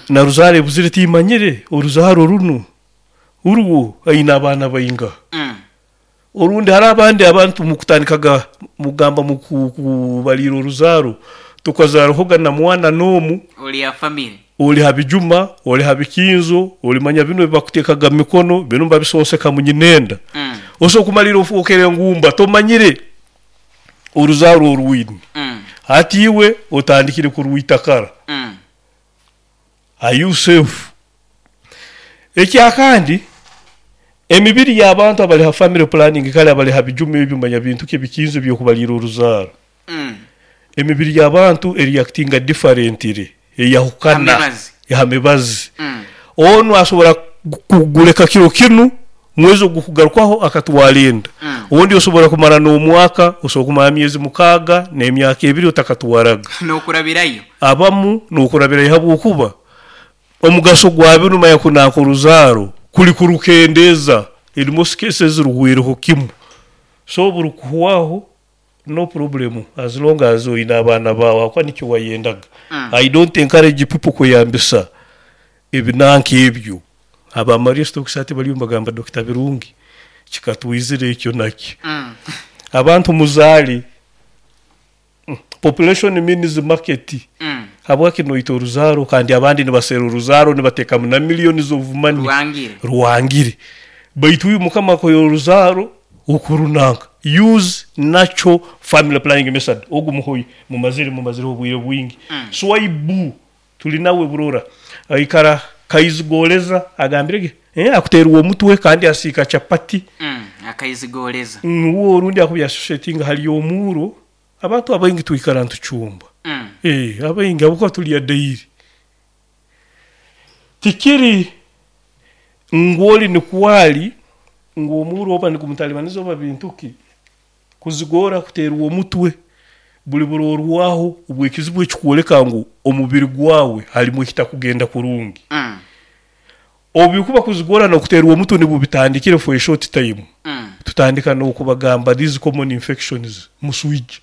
Na ruzaaro ebuzire timanyire oruzaaro runu urwo aine abaana baingaha. Orundi hariho abandi abantu mukutandikaga mugamba mukubaliira oruzaaro tokazaarahoga na mwana n'omu. Ori ha family. Ori ha bijuma, ori ha bikinzo, olimanya binu ebi bakuteekaga mu mikono, binu nibabisonseka mu nyinenda. Osobola kumaliira ofookere ngumba tomanyire oruzaaro oru oine. Hati iwe otandikire kurwita kara. Are you safe? Ekyakandi, emibiri y'abantu abali ha family planning kare abali ha bijuma ebyo manya bintu ki ebikinzo eby'okubaliira oruzaaro. Emibiri y'abantu ereactinga differently, eyahukana ha mibazi. Onu asobora kuguleka kiro kinu, mwezi ogukugarukaho akatwara enda. Ondi osobora kumara n'omwaka, osobora kumara emyezi 6 n'emyaka 2 otakatwaraga. N'okurabirayo. Abamu n'okurabirayo habwokuba omugaso gwa binu manya kunanka oruzaaro kuli kurukendeeza in most cases ruhwireho kimu. So obu rukuhwaho no problem as long as oine abaana baawe ahabw'okuba nikyo wayendaga. I don't encourage people kweyambisa ebinanka ebyo. Aba Maria Stokes hati bariyo nibagamba Dokita Birungi kikatwizira ekyo nakyo. Abantu muzaale, population means market. Habwaki noita oruzaaro kandi abandi nibaseera oruzaaro nibateekamu na millions of money. Rwangire. Rwangire. Baitu iwe Mukama akuhaire oruzaaro okurunanka. Use natural family planning method. Ogu muhoyi mumazire mumazireho obwire bwingi. Swaibu tuli nawe burora. Aikara kaizigoreza agambire ge akuteerwa omutwe kandi asiika chapati. Akaizigoreza. Uwe orundi akuba yasoshetinga hali omuuro. Abantu abaingi twikara nitucumba. Abaingi habwokuba tulya daily. Tikiri ngu ori nikwo ari ngu omuuro oba nigumutalibaniza oba bintu ki, kuzigora kuteerwa omutwe buli burorwaho obw'ekizibu ekikwoleka ngu omubiri gwawe harimu ekitakugenda kurungi. Obu bikuba kuzigora n'okuteerwa omutwe nibwo bitandikire for a short time, tutandika n'okubagamba these common infections, muswija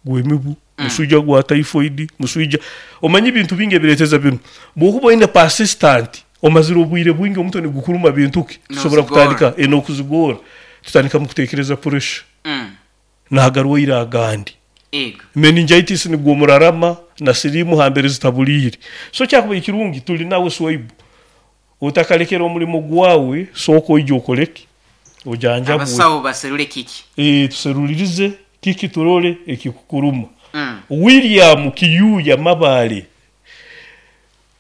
gw'emibu, muswija gwa typhoid, muswija, omanye ebintu bingi ebireeteza binu. Bwokuba oine persistant, omazire obwire bwingi omutwe nigukuruma bintu ki, tusobora kutandika n'okuzigora, tutandika mukutekereza pressure n'agarwaire agandi. Meningitis nigwo omurarama na siriimu hambere zitabuliire. So kyakubaire kirungi tuli nawe Swaibu, otakalekera omulimo gwawe, sooka oije okole ki? Ojanjabwe. Abasawo baserule kiki? Tuserulirize kiki turole ekikukuruma. William Kiyuya Mabale,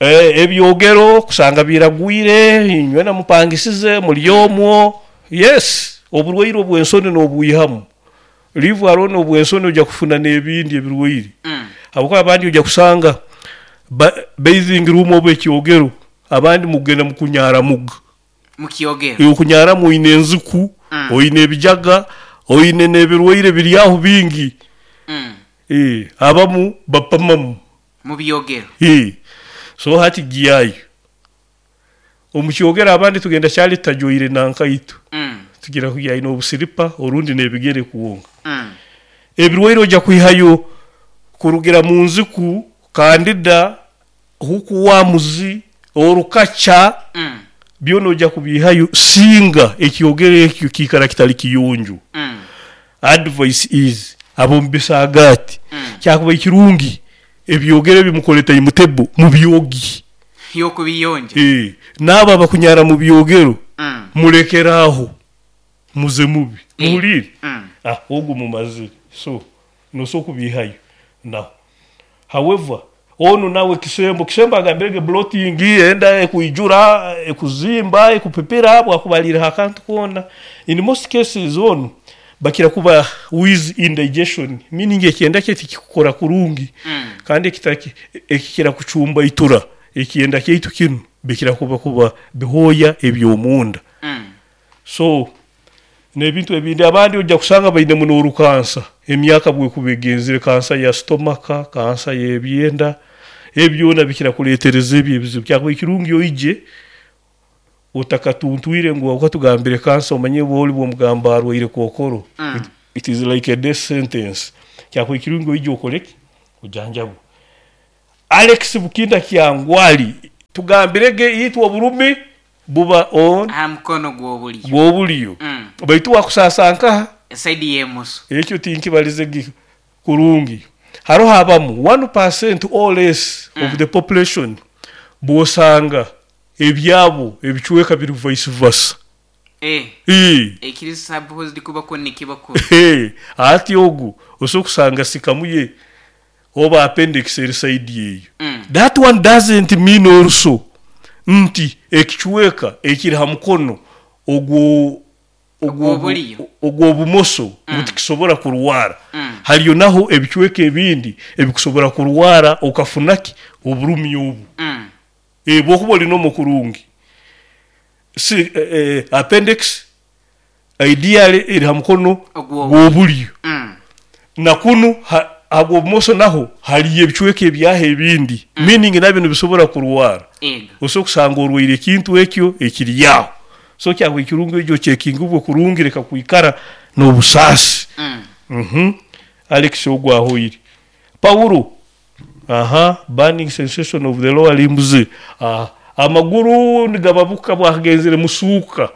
Ebyogero kusanga biragwire, inywena mupangisize muri omwo. Yes, oburwaire obw'ensoni n'obwihamu. Leave alone obw'ensoni oja kufuna n'ebindi ebirwaire. Habwokuba abandi oja kusanga bathing room oba ekyogero, abandi mukugenda mukunyaramuga. Mukyogero. Okunyaramu oine enziku, oine ebijaga, oine n'ebirwaire biri aho bingi. Abamu bapamamu. Mu byogero. Hii. So hati gyayo. Omu kyogero abandi tugenda kyali tutajwaire na nkaito. Tugira ngu aine obusiripa orundi n'ebigere kwonka. Ebirwaire oja kwihayo kurugira mu nziku, kandida, hookworms, orukaca, byona oja kubiihayo singa ekyogero ekyo kiikara kitali kiyonjo. Advice is ab'omu bisaagaati kyakubaire kirungi ebyogero ebi mukore time table mubyogi. Y'okubiyonja. N'abo abakunyara mu byogero murekere aho muze mubi. Muhuliire? Ogu mumazire so nosobola kubiihayo naho. However, onu nawe Kisembo, Kisembo agambire ge bloating, enda ekwijura, ekuzimba, ekupipira bwakuba ariireho akantu koona. In most cases onu bakira kuba with indigestion meaning ekyenda kye tikikukora kurungi kandi ekikira kucumbaitura ekyenda kyaitu kinu bikira kuba bihooya eby'omunda. So n'ebintu ebindi abandi oija kusanga bainemu n'orukansa emyaka bwekuba egenzire, kansa ya sitomaka, kansa y'ebyenda, ebi byona bikira kuleetereza ebi ebizibu. Kyakubaire kirungi oije otakatuntwire ngu habwokuba tugambire kansa omanye bwoli bwomugamba arwaire kookoro, it is like a death sentence. Kyakubaire kirungi oije okole ki? Ojanjabwe. Alex Bukinda Kyangwali. Tugambirege itwe oburumi buba on Aha mukono gw'obulyo. Gw'obulyo. Baitu wakusaasa nkaha? Side y'emoso. Ekyo tinkibalizege kurungi. Haroho abamu 1% or less of the population bw'osanga ebyabo ebicweka biri vice versa. Ekiri supposed kuba kunu nikiba kunu. Hati ogu osobola kusanga sikamu ye oba appendix eri side eyo. That one doesn't mean also nti ekicweka ekiri ha mukono ogwo Ogw'obulyo. Ogw'obumoso ngu tikisobora kurwara. Haliyo naho ebicweka ebindi ebikusobora kurwara okafuna ki? Oburumi obu. Bwokuba oli normal kurungi, si appendix ideally eri ha mukono gw'obulyo. Na kunu ha gw'obumoso naho haliyo ebicweka ebyaho ebindi, meaning nabyo nibisobora kurwara. Osobola kusanga orwaire ekintu ekyo ekiri aho. So kyakubaire kirungi oije oceekingibwe kurungi leka kwikara n'obusaasi. Alex ogu ahoire. Paulo, aha, burning sensation of the lower limbs. Aha, amaguru nigababuka bwakagenzere musuuka.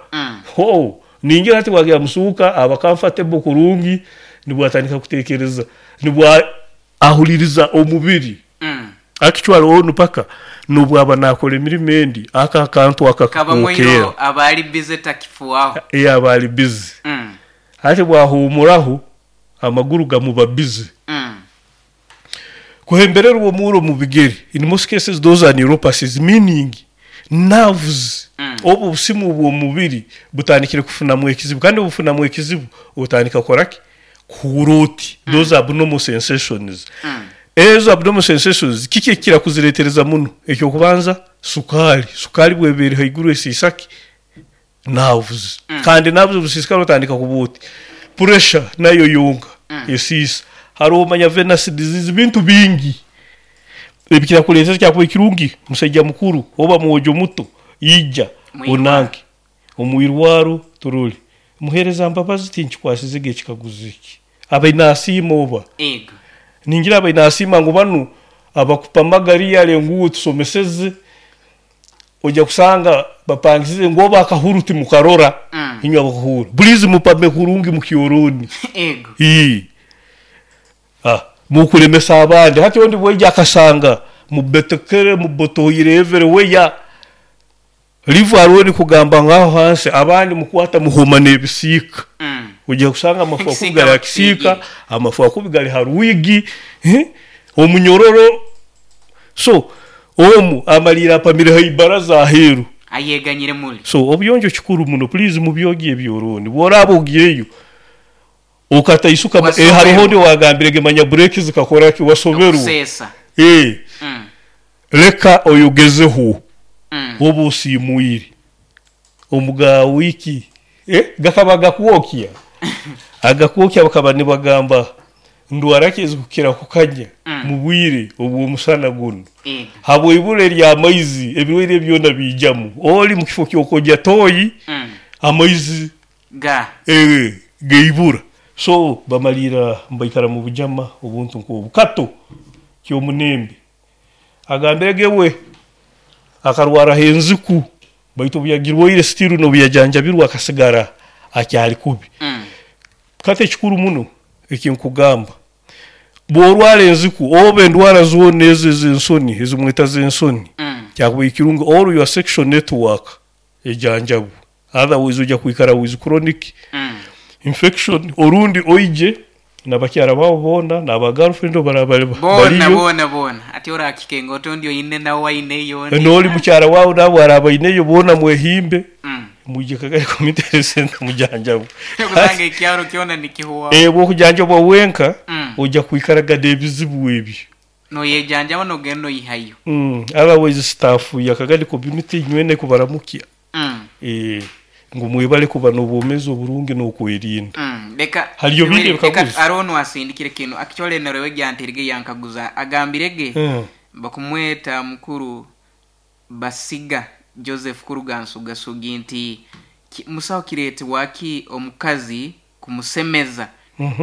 Ho, ningira hati bwagenda musuuka aba comfortable kurungi, nibwo atandika kutekereza, nibwo ahuliriza omubiri. Actually onu paka nobwaba nakora emirimo endi, aka akantu aka Kabamu kakwokera. iro aba ali busy takifuaho. Aba ali busy. Hati bwahumuraho amaguru gamuba busy. Kuhembererwa omuro mu bigere. In most cases those are neuropathies, meaning nerves. Obu obusimu bw'omubiri butandikire kufunamu ekizibu, kandi obufunamu ekizibu otandika kukora ki? Kuhura oti. Those abnormal sensations. Ezo abnormal sensations kiki ekikira kuziretereza muno? Ekyokubanza sukali. Sukali bweba eri haiguru esiisa ki? Nerves. Kandi nerves obusiisikara otandika kuba oti. Pressure nayo yonka esiisa. Haroho manya venous disease, bintu bingi ebikira kuleetera. Kyakuba ekirungi musaija mukuru oba mwojo muto ija onanke omwirwaro turole. Muheereza Mbabazi, tinkikwasizege ekikaguzo eki. Abaine asiima oba? Ego. Ningira abaine asiima ngu banu abakupamaga riyale ngu tusomeseze, ojja kusanga bapangisize ngu oba akahuru timukarora. Inywe abakuhura, please mupame kurungi mukyoroni. Ego. Mukulemesa abandi. Hati ondi bwaija akasanga mubetekere mubotoire everywhere, livu aroni kugamba ngaho hansi, abandi mukwata muhoma n'ebisiika. Ojja kusanga amafu akubi Ekisiika gali ha kisiika, bakisiigire. Amafu akubi gali ha rwigi, omunyororo. So omu amaliire apamire ha ibaraza aheeru. Ayeganyire muli. So obuyonjo kikuru muno, please mubyogye ebyoroni. Bworaba ogireyo okataisuka, Wasoberwa. Haroho ondi owagambirege manya bureki zikakora ki, wasoberwa. Okuseesa. Leka oyogezeho oba osiimwire omuga wiki, gakaba gakwokya agakwokya, bakaba nibagamba ndwara ki ezikukira kukanya mu bwire obw'omusana guno? Ego. Habw'ibura ery'amaizi ebirwaire byona biijamu. Oli mu kifo ky'okogya toyi, amaizi Ga. Geibura. So bamalira mbaikara mu bujama obuntu nk'obu. Kato ky'omunembe agambirege we akarwaraho enziku, baitu obu yagirwaire still n'obu yajanjabirwe akasigara akyali kubi. Kati ekikuru muno ekinkugamba, bw'orwara enziku oba endwara zoona ezo ez'ensoni ezimweta z'ensoni, kyakuba ekirungi all your sexual network ejanjabwe, otherwise ojja kwikara with chronic infection. Orundi oije n'abakyara baabo boona n'aba girlfriend obaraba bali Boona. Baliyo. Boona boona ati orakike otondi oine nawe aineyo ondi. N'oli mukyara waawe nawe araba aineyo, boona mwehimbe, mwije Kagari Community Health Center mujanjabwe. Kusanga ekyaro kyona nikihuwaho. Bw'okujanjabwa wenka ojja kwikaraga n'ebizibu ebyo. Noyejanjaba nogenda oyihayo. Otherwise staff ya Kagari Community nywene kubaramukya, ngu mwebale kuba n'obwomeezi oburungi n'okwerinda. Leka Haliyo bindi leka ebikaguzo? Arono asindikire kinu akichole narewe gyantirige yankaguza agambirege bakumweta mukuru Basiga Joseph kuruga Nsugasugi nti musawo kireetebwa ki omukazi kumusemeza,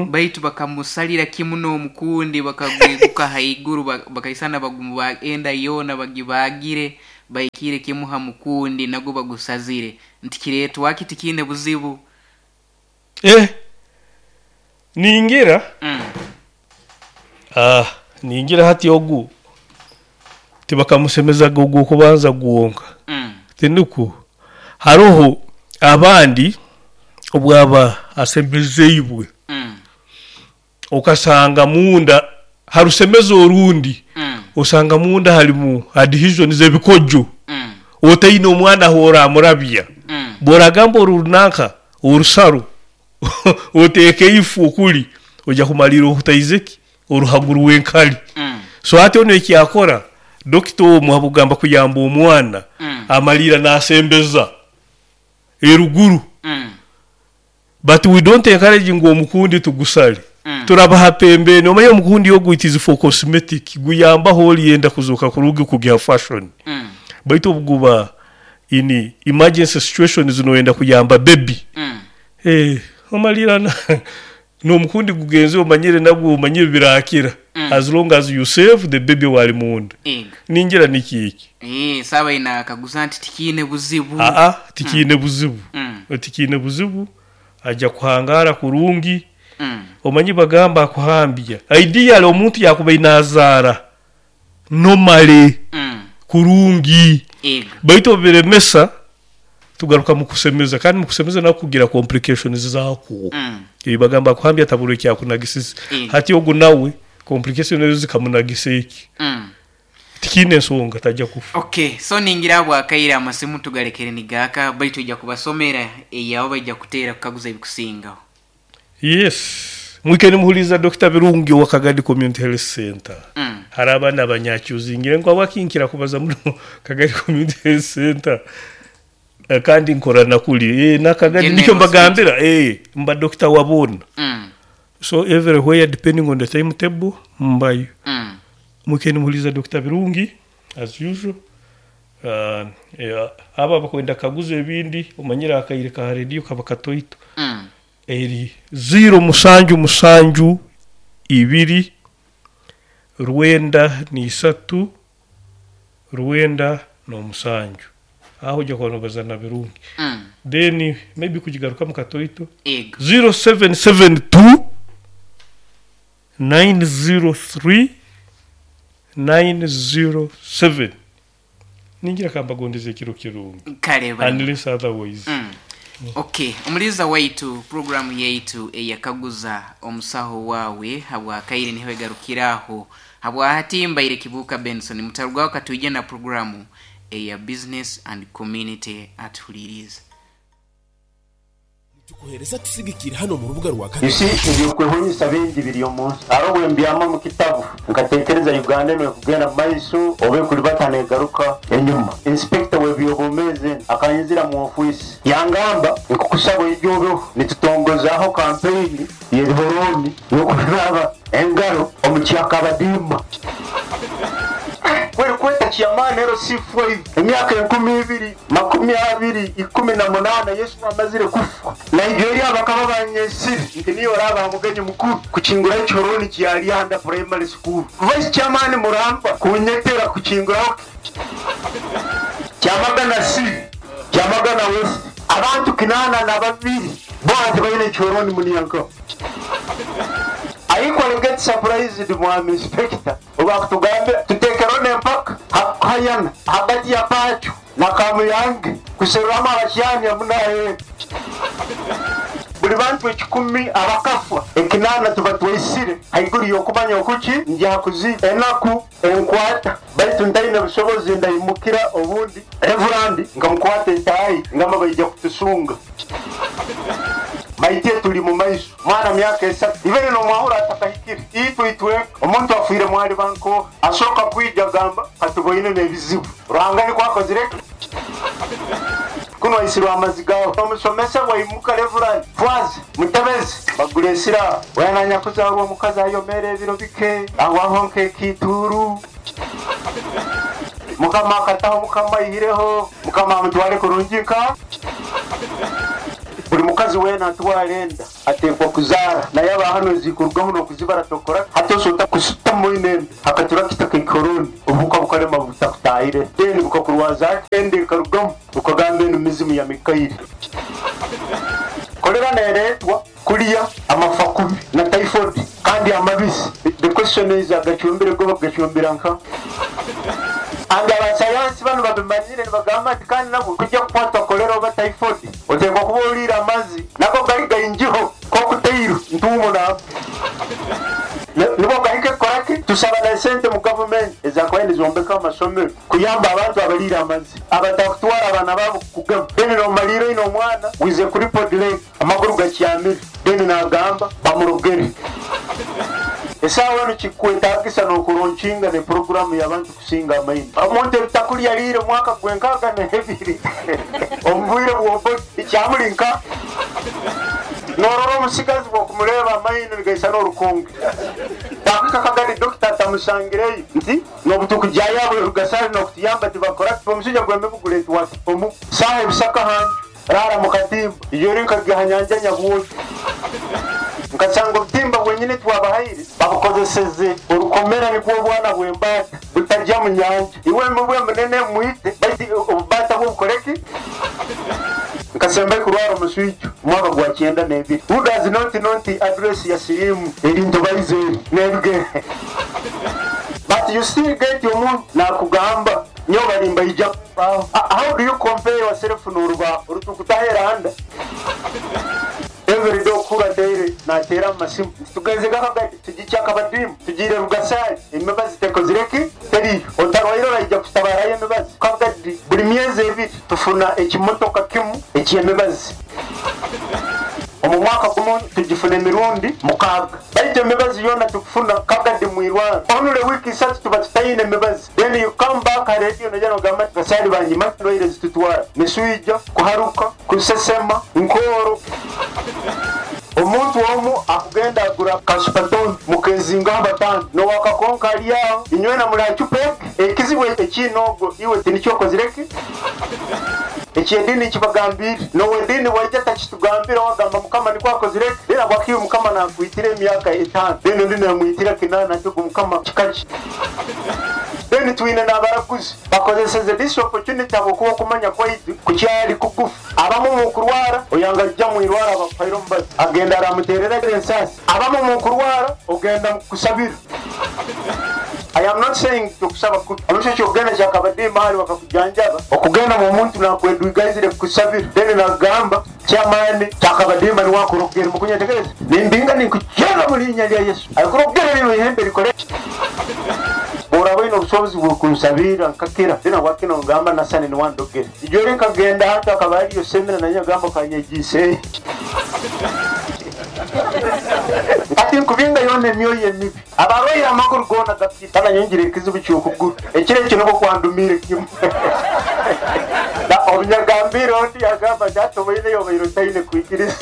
baitu bakamusalira kimu n'omukundi bakagwiguka haiguru bakaisana bagumu bagenda yoona bagibagire. Bahikiire kimu ha mukundi nagwo bagusazire nti kireetwaki tikiine buzibu? Eh, ningira ah, ningira hati ogu tibakamusemezaga ogw'okubanza gwonka. Tinukwo haroho abandi obwaba asemezeibwe okasanga munda harusemeza orundi osanga munda harimu adhesions, ebikojo, otaine omwana ahu oramurabya. Bworagamba oru runanka orusaro oteeke ifu okuri oija kumariira ohutaize ki? Oruhago rw'enkari. So hati onu eki akora, dokita omu habw'okugamba kuyamba omwana, amariira nasembeza eruguru. But we don't encourage ngu omukundi tugusare. Turabaha pembeni. Omanye omukundi ogu it is for cosmetic, guyambaho oryenda kuzooka kurungi kugiha fashion. Baitu obuguba in emergency situations noyenda kuyamba baby, omariira N'omukundi gugenze omanyire nagwo omanyire birakira as long as you save the baby owari munda. Ego. Ningira nikyo eki. Eeh saaba aine akaguza nti tikiine buzibu. Aa tikiine buzibu. Tikiine buzibu aja kuhangara kurungi. Omanyi bagamba akuhambya. Ideally omuntu yakubaire nazaara normally kurungi. Ego. Baitu obiremesa tugaruka mukusemeza kandi mukusemeza nakwo kugira complications zakwo. Bagamba akuhambya ataburwa ekyakunagisize. Hati ogu nawe complication ezo zikamunagisa eki? Tikiine ensonga taja kufa. Okay, so ningira habwakaire amasimu tugalekere nigaaka baitu oija kubasomera eyabo baija kuteera kukaguza ebikusingaho. Yes. Mwike nimuhuriiriza Dokita Birungi owa Kagadi Community Health Centre. Hariho abaana abanyakyuzingire ngu habwaki nkira kubaza muno Kagadi Community Health Centre kandi nkora na kuri. Na Kagadi General nikyo mbagambira mba dokita wa boona. So everywhere depending on the timetable mbayo. Mwike nimuhuriiriza Dokita Birungi as usual. Abo abakwenda kukaguza ebindi omanyire akaire ka rediyo kaba katoito. Eri ziiro musanju musanju ibiri rwenda n'isatu rwenda n'omusanju. Aho oija kuba nobaza na Birungi. Then maybe kugigarukamu katoito. Ego. 0772 903 907. Ningira kambagondeze ekiro kirungi. Kare bari. Unless otherwise. Okay, omuliza waitu puroguramu yaitu eyakaguza omusaho wawe habwakaire niho egarukiraho. Habwahati mbaire Kibuuka Benson mutarugwaho katwije na puroguramu eya Business and Community atuhuliriize. Nitukuheereza tusigikire hano omu rubuga rwa You Kagadi. see, ebyokwehonyesa bingi biri omu nsi. Haro bwe mbyama omu kitabu nkatekereza Uganda enu ekugenda mu maiso oba ekuribata negaruka enyuma. Inspector w'ebyobwomeezi akanyizira mu ofiisi yangamba nkukusaba oije obeho nitutongozaho kampeyini y'ebihorooni y'okunaaba engaro omu kyakabadiima. Kweri kweta chairman LC5 emyaka enkumi ibiri makumi abiri ikumi na munana Yesu amazire kufa. Nigeria bakaba banyesire nti niyo oraba mugenyi mukuru kuchingura echoroni kyalianda primary school. Vice chairman Muramba kunyetera kuchinguraho Kyamagana C, Kyamagana West. Abantu kinana na babiri bo tibaine echoroni muniyanko. I equally get surprised mwami inspector obakutugambe tutekerone mpaka hakukayana hagati ya Pachu na Kamuyange kuserwama abashyani amunaye buli bantu ekikumi abakafwa ekinana tuba twaisire haiguru yokumanya okuki njakuzi enaku enkwata baitu ntaine busobozi ndayimukira obundi reverandi nkamukwata entayi ngamba baija kutusunga maite tuli mu maiso mwana myaka esatu ibere nomwahura atakahikire itwe itweka omuntu afiire mwali banko asooka kwija gamba katuboine n'ebizibu Ruhanga nikwo akozire kuno aisirwe amazi gawe omusomesa bwaimuka reverandi fwazi mutebezi bagura esira wenanya kuzarwa omukazi ayomere ebiro bike awaho nk'ekituru mukama akataho mukama aihireho mukama amutware kurungi nka buli mukazi weena atwara enda ateekwa kuzaara naye aba hano zikurwaho n'okuzibara tokora hati osota kusutamu ine enda akaturakita kaikoroni obuhuka. Bukalema butakutahire, then bukakurwaza ende ekarugamu, ukagamba enu mizimu ya Mikairi. Kolera neretwa kulya amafa kubi na typhoid kandi amabisi. The question is, agacumbire go bagacumbira nka andi? Abasayansi bano babimanyire, nibagamba ati kandi nabo kujya kukwatwa kolera oba typhoid otekwa kuba oliire amazzi nako gali gaingiho kokuteiru ntuumo nabo nibo gahike koraki. Tusaba na sente mu gavumenti ezakubaye nizombeka amasomero kuyamba abantu abaliire amazzi abatakutwara abaana babo kugema. Then nomaliire ino omwana wize kuri podlek, amaguru gakyamire, then nagamba bamurogere. Esaawa eno kikwetagisa nokuronkinga ne programu y'abantu kusinga amaini. Omuntu ebitakulya liire omwaka gwenkaaga n'ebiri omubwire bwobo ekyamulinka norora omusigazi bwokumureeba amaino nigaisa n'orukonge bakwika kagari. Dokita atamusangireyo nti nobutukujyayabo rugasari nokutuyamba tibakora omusujja gwemibuguleti wati omu saha ebisaka hanju rara mukatimba ijori nkagiha nyanja Nyabwoki, nkasanga obutimba bwenyine twabahaire babukozeseze orukomera, nikwo obwana bw'embaata butajya mu nyanja. Iwe mubwe munene mwite baitu obubata bwobukoreki. Nkasemba kurwara omuswijo omwaka gwa 92. Who does not know the address ya sirimu erintu baizeri n'ebigere? But you still get omuntu nakugamba nyo balimba ija. How do you compare yourself n'orubaho orutukutahera anda every day okura daily natera amasimu tugenze gakagati tugikyaka badimu tugire Rugasari emibazi tekozireki teriyo otarwaire orayija kutabarayo emibazi kagadi. Buli myezi 2 tufuna ekimotoka kimu ekyemibazi. Omu mwaka gumu tugifuna emirundi 6, baitu emibazi yona tukufuna kagadi mwirwaro onule wiiki 3 tuba tutayine emibazi. Then you come back ha radio noja nogamba basali banyima ndwaire zitutwara miswija, kuharuka, kusesema, nkoro. Omuntu omu akugenda agura kasupatoni mukezingaho batano nowakakonka ali aho inywena muracupa ekizibu ekinogo iwe tinikyokozireki ekyedini kibagambire nowedini waija takitugambire wagamba Mukama nikwo akozireki. Rero bwakiwe Mukama nakwitira emyaka 5, then ondi namwitira 8, ati Mukama kikaki. Then twine n'abaraguzi bakozeseze this opportunity habwokuba okumanya kwaitu kukyali kugufu. Abamu mukurwara oyanga jja mwirwara bakuhaire omubazi agenda aramuterera ensasi. Abamu mukurwara ogenda kusabira. I am not saying tukusaba kubi. Omusho kyogenda kyakabadde mahali bakakujanjaba okugenda mu muntu nakwedwigaizire kusabira, then nagamba kyamaani kyakabadimba niwakurogera mukunyetegereza nimbinga ninkukyera mu linnya lya Yesu akurogera lino ihembe likole boraba ino obusobozi bwokunsabira nkakira. Then wakino ngamba nasani niwandogere ijore nkagenda hata akaba ariyo semina naye agamba kanyegise ati nkubinga yona emyoyo emibi abarwaire amaguru gona gapita nanyongera ekizibu kyokuguru ekiro ekyo niko kwandumire kimu na obunyagambire ondi agamba gyatoboine yobaire otaine kwikiriza.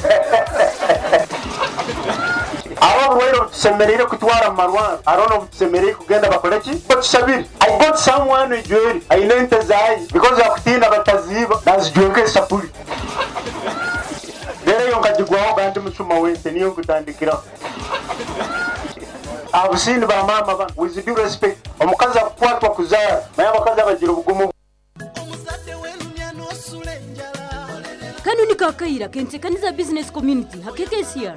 Abo oburwaire obutusemereire kutwara mu marwaro arono obutusemereire kugenda bakore ki? Batusabire. I got someone ijweri aine ente zayi because akutina bataziiba nazijweka esapuri. Rero eyo nkagigwaho gandi musuma wente niyo nkutandikiraho. Abusini ba mama bano, with due respect, omukazi akukwatwa kuzaara naye abakazi abagira obugumu. Kano ni kakaira kentekaniza business community hakekesiar.